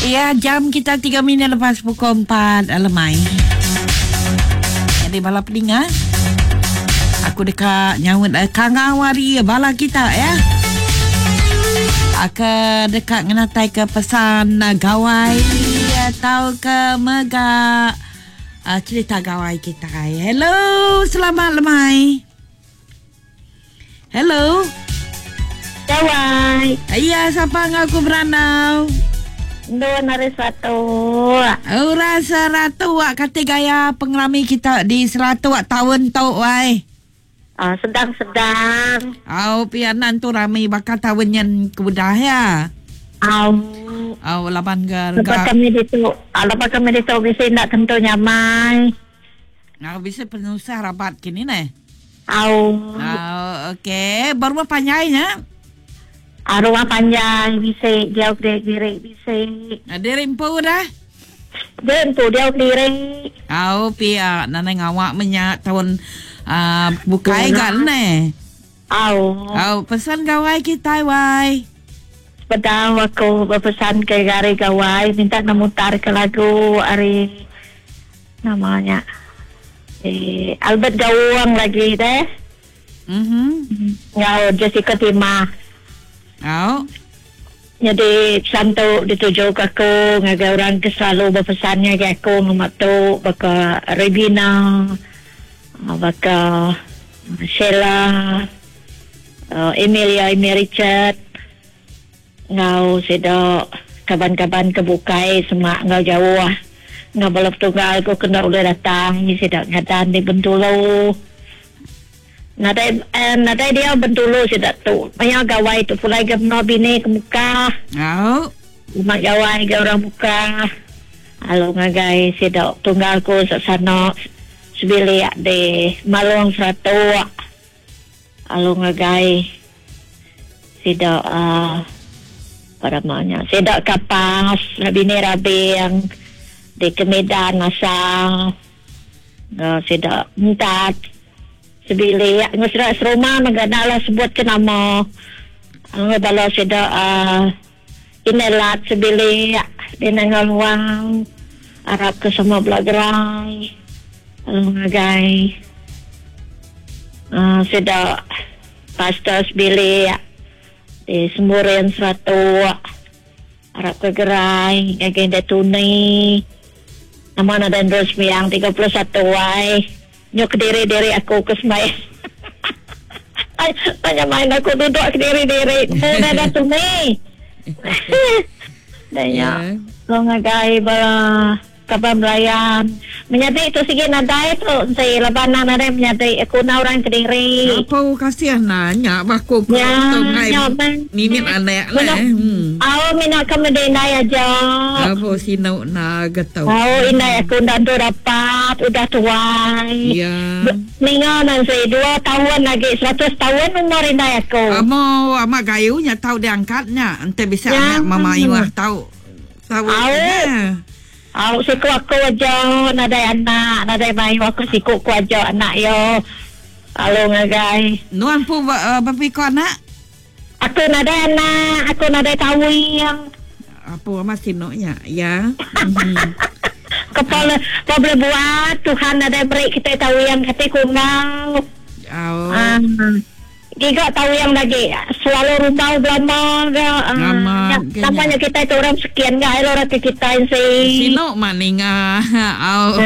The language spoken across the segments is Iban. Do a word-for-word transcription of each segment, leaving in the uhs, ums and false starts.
Ya, jam kita tiga minit lepas pukul empat lemai. Jadi bala peninga, aku dekat nyaut uh, kangawari bala kita ya. Aku dekat ngenatai ke pesan uh, gawai atau ke mega uh, cerita gawai kita. Hello, selamat lemai. Hello. Gawai. Iya, siapa ngaku beranau? Dua nari satu. Ora seratu wak kata gaya pengerami kita di seratu wak tahun tu wai. Ah, sedang-sedang. Au pianan tu rami bakal tahun yang kemudah ya. Au. Au laban ke. Lepas kami itu, lepas kami itu bisa nak tentu nyamai. Au bisa penusah rabat kini ne. Au. Au okey, baru panjangnya. Arwah panjang bisa jauh diri diri bisa. Diri empu dah. Diri empu jauh diri. Au pia nana ngawak menyak tahun uh, bukai kan ne. Au. Au pesan gawai kita wai. Pedang aku berpesan ke gari gawai minta namutar ke lagu ari namanya eh Albert Gawang lagi deh. Mhm. Ngau Jessica Timah. Oh. Jadi pesan tu dituju ke aku ngagai orang ke selalu berpesannya ke aku ngama tu baka Regina, baka Sheila, uh, Emilia, Emilia Richard, ngau sedo kaban-kaban kebukai semua ngau jauh ngau balap tunggal aku kena boleh datang ni sedo ngadan di Bentulu. Nadai eh, nadai dia Bentulu sedak tu. Maya gawai tu pulai ke no bini ke muka. Oh. Mak gawai ke orang muka. Halo ngagai sedak tunggal ku sana sebilik di Malung Seratuk. Halo ngagai sedak uh, apa namanya? Sedak kapas bini rabing di Kemedan asal. Uh, sedak entat sebilik ngesra serumah mengganalah sebut ke nama ngabala seda uh, inelat sebilik di nangaluang Arab ke semua belagerai ngagai uh, seda pastor sebilik di Semburin Seratuk Arab ke gerai ngagai datuni nama dan Rosmiang tiga puluh satu wai nyok kediri-diri aku ke semai. Ay, tanya main aku duduk kediri-diri. Oh, dah tu ni. Dah ya. Lo ngagai bala kaban belayan. Menyadi tu sigi nadai tu. Saya laban nadai menyadi aku na orang kediri. Apa kasihan nanya baku ku tu ngai. Mimit anak lah. Aw mina kamu dendai aja. Apa sino na getau. Aw indai aku dah tu dapat udah tuai. Ya. Ninga nanti dua tahun lagi seratus tahun umur indai aku. Amo amak gayunya tahu diangkatnya. Ente bisa anak mama iwah tahu. Tahu. Aw siku aku aja nadai anak nadai mayu aku siku ku aja anak yo. Halo ngagai. Nuan pu uh, berapa anak? Aku nadai anak, aku nadai tahu yang. Apa masih noknya ya? Mm-hmm. Kepala kau boleh buat Tuhan nadai beri kita tahu yang kata kungau. Oh. Um, Giga tahu yang lagi selalu rumah belama ke. Lama. Tampaknya kita itu orang sekian enggak orang ke kita sih. Sino maninga. Oh.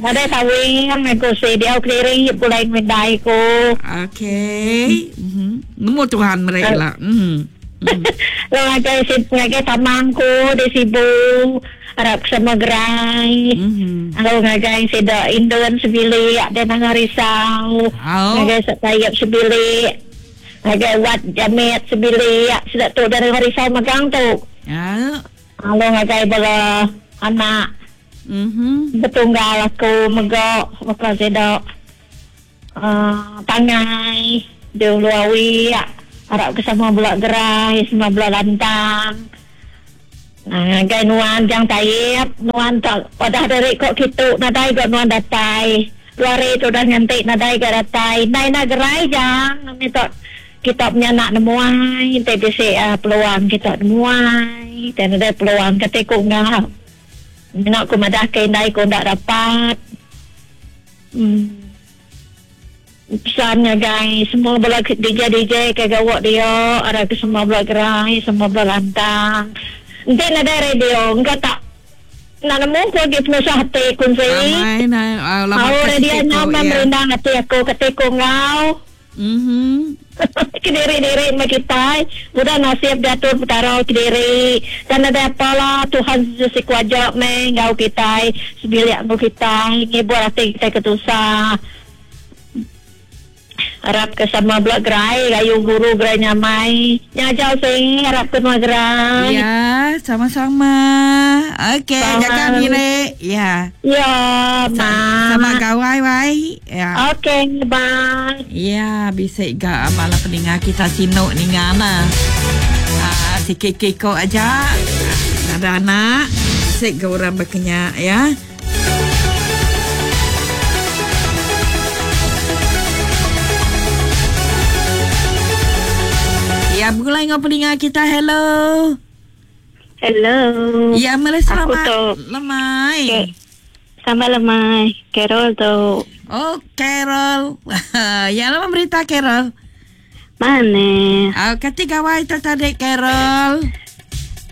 Ada tahu yang aku sih dia keliring pulai mendai ku. Okey. Mhm. Nemu Tuhan mereka lah. Mhm. Lo ngagai si ngagai tamangku di Sibu Arab sama gerai. Lo ngagai si da Indon sebilik ada nang risau. Ngagai sayap sebilik. Ngagai wat jamit sebilik sudah tu dari risau magang tu. Ya. Lo ngagai bala anak. Mhm. Betunggal aku megok maka si da uh, tangai diuluawi Arab ke sama bulak gerai, semua bulak lantang. Nah, gai nuan jang taib, nuan tak pada dari kok kitu nadai kok nuan datai. Luari tu dah ngantik nadai gak datai. Nai na gerai jang, ni tok kita punya nak nemuai, te bisi uh, peluang kita nemuai. Dan ada peluang kata ku ngah. Nak ku madah ke indai ku ndak dapat. Hmm. Pesan ngagai semua bala D J D J ke gawak dia, ada ke semua bala gerai, semua bala lantang. Nanti ada radio, engkau tak nak nemu ku lagi penusah hati kunci. Ramai nah, lama oh, radio nyaman ya. Merindang hati aku kata ku ngau. Mhm. Kediri-diri sama kita, udah nasib diatur perkara kediri. Dan ada apalah Tuhan Yesus kuajak meh ngau kita, sebilik ngau kita, ngibur hati kita ketusah. Harap ke sama blok gerai, gayu guru gerai nyamai. Nyajau sing harap ke semua gerai. Ya, sama-sama. Okey, jaga diri. Ya. Ya, ma. Sama gawai wai. Ya. Okey, bye. Ya, bisa ga bala peninga kita sinuk ninga nah. Ah, sikit kiko aja. Ada anak, sik ga orang berkenyak ya. Ya, mulai ngau peninga kita. Hello. Hello. Ya, mari selamat lemai. Okay. Selamat lemai. Carol tu. Oh, Carol. Ya, lama berita Carol. Mana? Oh, kati gawai tertarik Carol.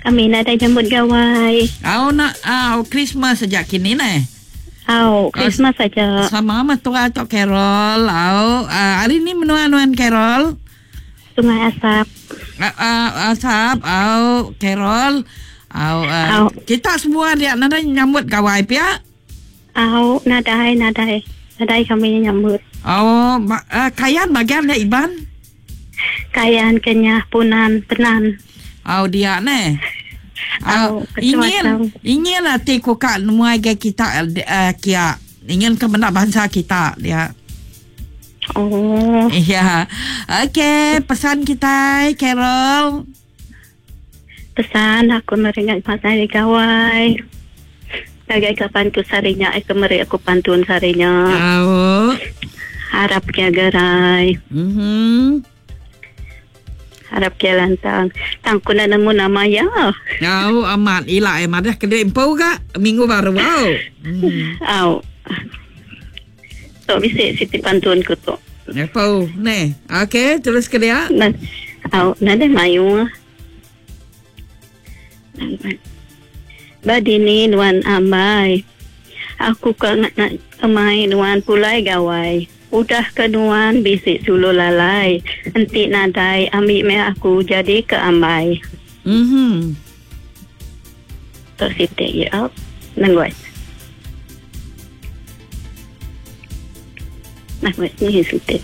Kami nak ada jemput gawai. Oh, nak oh, Christmas sejak kini nih. Oh, Christmas oh, saja. Sama mertua atau Carol. Oh, uh, hari ini menua-nuan Carol. Sungai Asap. Uh, uh, asap, oh, Carol. Oh, uh, oh. Kita semua dia nada nyambut gawai pia. Oh, nadai, nadai. Nadai kami nyambut. Oh, ba- uh, kayan bagian dia Iban? Kayan Kenyah Punan Penan. Oh, dia ne. Oh, oh ingin ingin hati ku kak muai ke kita uh, kia. Ingin ke benda bangsa kita dia. Oh. Ya. Okey, pesan kita Carol. Pesan aku meringat pasal gawai. Sebagai kapan ku sarinya, aku meri aku pantun sarinya. Oh. Harap kia gerai. Mhm. Harap kia lantang. Tang ku nak nemu nama ya. Oh, amat ila eh madah kedai empu ka minggu baru au. Mm. Au. Tok bisik siti pantun ku tu. Apa ne? Okey, terus ke dia. Nah, au, nada mayu. Badini nuan ambai. Aku ka nak nak kemai nuan pulai gawai. Udah ke nuan bisik sulu lalai. Entik nadai ambil me aku jadi ke ambai. Mhm. Tok siti ya. Nangoi. Nah, ni siti.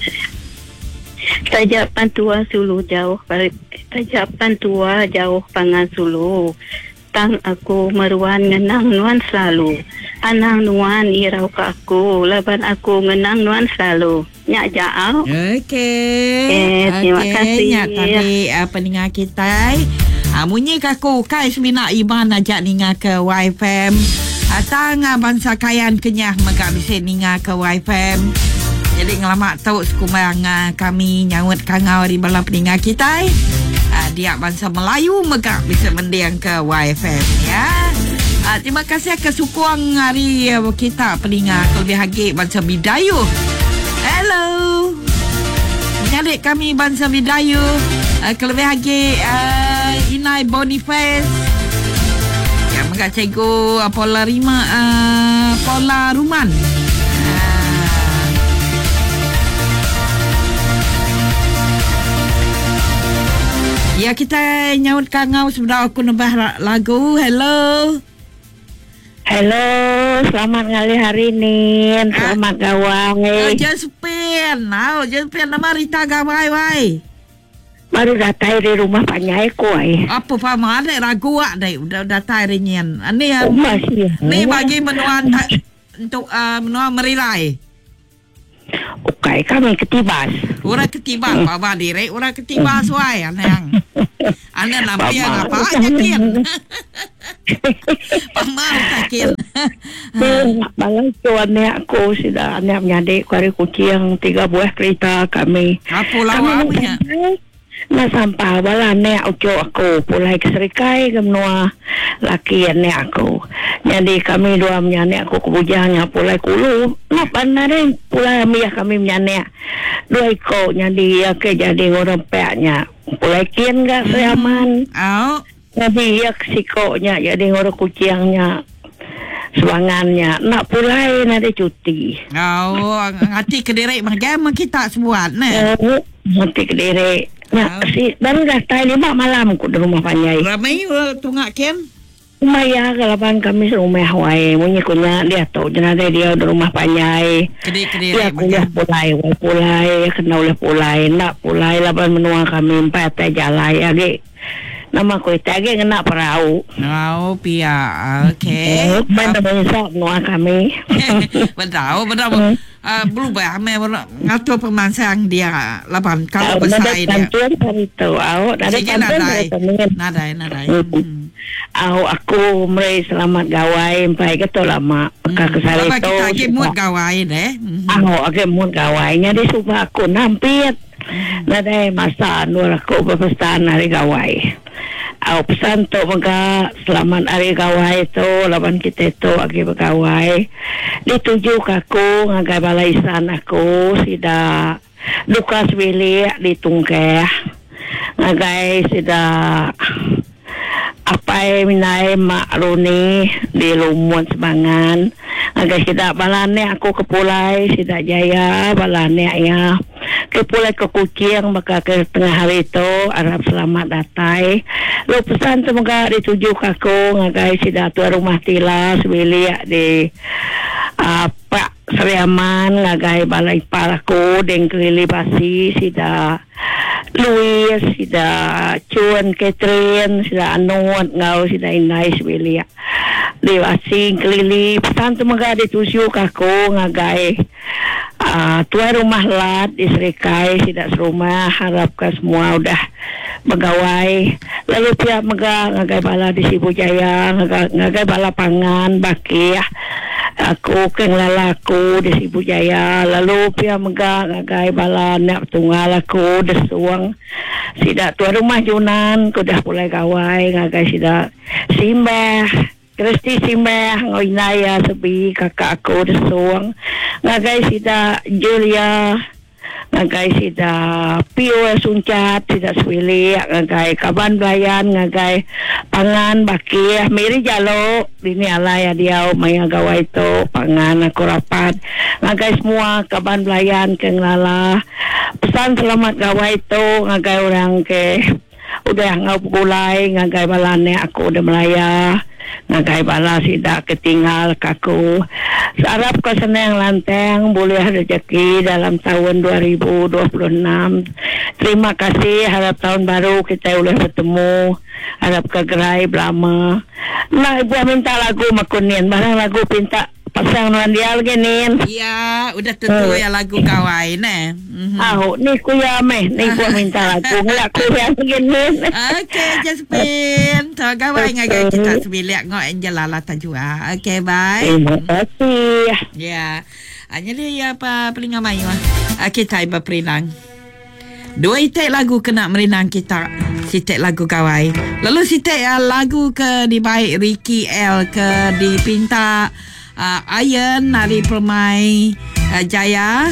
Tajapan tua sulu jauh, tajapan tua jauh pangan sulu. Tang aku meruan ngenang nuan selalu. Anang nuan irau ke aku, laban aku ngenang nuan selalu. Nyak jauh. Okey. Eh, terima okay. kasih. Nyak tadi uh, peninga kita. Ah, munyi kaku kai semina Iban ajak ninga ke Y F M. Atang bangsa Kayan Kenyah megak bisa ninga ke Y F M. Jadi ngelamak tau sekumang kami nyaut kangau di bala peninga kita. Uh, dia bangsa Melayu megak bisa mendiang ke Y F M ya. Uh, terima kasih ke sukuang hari uh, kita peninga kelebih hagi bangsa Bidayu. Hello. Menyadik kami bangsa Bidayu. Uh, kelebih hagi uh, Inai Boniface. Ya megak cikgu uh, Pola Rima uh, Pola Ruman. Ya, kita nyaut kangau sebentar aku nebah lagu. Hello. Hello, selamat ngalih hari ni. Selamat ah. gawai. Oh, Josephine. Oh, Josephine nama Rita gawai wai. Baru datang dari rumah panyai ku ai. Apa faham ada ragu ak dai udah datang hari ni. Ani oh, masih. Ni bagi menuan untuk uh, menua merilai. Okey, kami ketibas. Orang ketibas, hmm. Baba direk orang ketibas wai anang. Anang nampi apa aja kin. Pamau takin. Balai tu anak aku sudah anak menyadik ku hari kucing tiga buah kereta kami. Apa lawa punya? Na sampah bala anak ucuk aku pulai ke Serikai ke menua laki anak aku. Jadi kami dua menyanak aku kebujangnya pulai kulu. Nak pandai pulai ambil kami menyanak. Dua ikut jadi ya ke jadi orang peknya. Pulai kian gak seaman. Oh. Jadi ya kesikoknya jadi orang kucingnya. Sebangannya nak pulai nanti cuti. Oh, ngati kederek macam kita sebuat ne. Oh, ngati kederek. Nah, Oh. si baru datang lima malam ku di rumah panjai. Ramai tungak ken. Maya kalapan kami serumah wae munyi kunya dia tu jenade dia di rumah panjai. Kedik-kedik Ya kuliah pulai, wae pulai, kena oleh pulai, nak pulai lapan menua kami empat teh jalai agi. Nama ku agi kena perahu. Oh, pia. Okey. Eh, mana besok menua kami. Betul, betul. Uh, berubah memang ngatur pemansang dia lapan kalau besar dia. Bantuan dari tu, awak ada bantuan dari tu. Nadai, nadai. Hmm. Aw, aku meri selamat gawai empai ke tu lama. Ka kesari tu. tu. Kita agi mood gawai deh. Aw, agi mood gawai nya di subah aku nampit. Nadai masa nur aku berpesan hari gawai. Aw, pesan tu maka selamat hari gawai tu lawan kita tu agi bergawai. Dituju ke aku ngagai balaisan aku sida Lukas bilik ditungkeh. Ngagai sida apai minai mak Runi di Lumut Sebangan. Ngagai sida balane aku ke Pulai, sida Jaya balane ya. Ke Pulai ke Kuching maka ke tengah hari tu harap selamat datai. Lu pesan tu mega dituju ke aku ngagai sida tuan rumah tila sebilik di uh, Pak Seriaman ngagai balai ipar aku deng kelili basi sida Louis, sida Chuan Catherine, sida Anut ngau sida Inai sebilik. Di asing kelili pesan tu mega dituju ke aku ngagai uh, tuan rumah lat di Serikai sida serumah harapkan semua udah begawai. Lalu pihak mega ngagai bala di Sibu Jaya, ngagai, ngagai bala pangan bakih aku ke ngelala aku di Sibu Jaya. Lalu pihak mega ngagai bala anak tunggal aku desuang sida tuan rumah Junan ku dah pulai gawai ngagai sida Simbah Kristi Simbah ngau Inaya sebi kakak aku desuang ngagai sida Julia ngagai sida Pio Suncat sida Sebilik ngagai kaban belayan ngagai pangan bakih Miri Jalo dini alai dia maya gawai tu pangan aku rapat ngagai semua kaban belayan ke ngelala pesan selamat gawai tu ngagai orang ke udah ngau pulai ngagai balane aku udah melaya ngagai bala sida ketinggal kaku. Sarap ke senang lantang boleh rezeki dalam tahun dua ribu dua puluh enam. Terima kasih, harap tahun baru kita boleh bertemu. Harap ke gerai belama. Nah, ibu minta lagu makunin, barang lagu pinta pasang nuan dia lagi nin. Ya, udah tentu hmm. ya lagu gawai ne. Mm-hmm. Ah, ni kuya meh, ni gua minta lagu ngelak kuya lagi nin. Okey, Jasmine. So gawai ngagai kita sebilik ngok Angela lah tajua. Okey, bye. Terima kasih. Ya. Jadi ya apa pelinga mayu ah. Kita iba perinang. Dua itik lagu kena merinang kita. Sitik lagu gawai. Lalu sitik ya, lagu ke dibaik Ricky L ke dipinta Uh, Iron Nari Permai uh, Jaya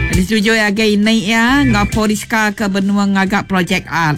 disetujui agak ini ya ngaporiska ke benua ngagak projek art.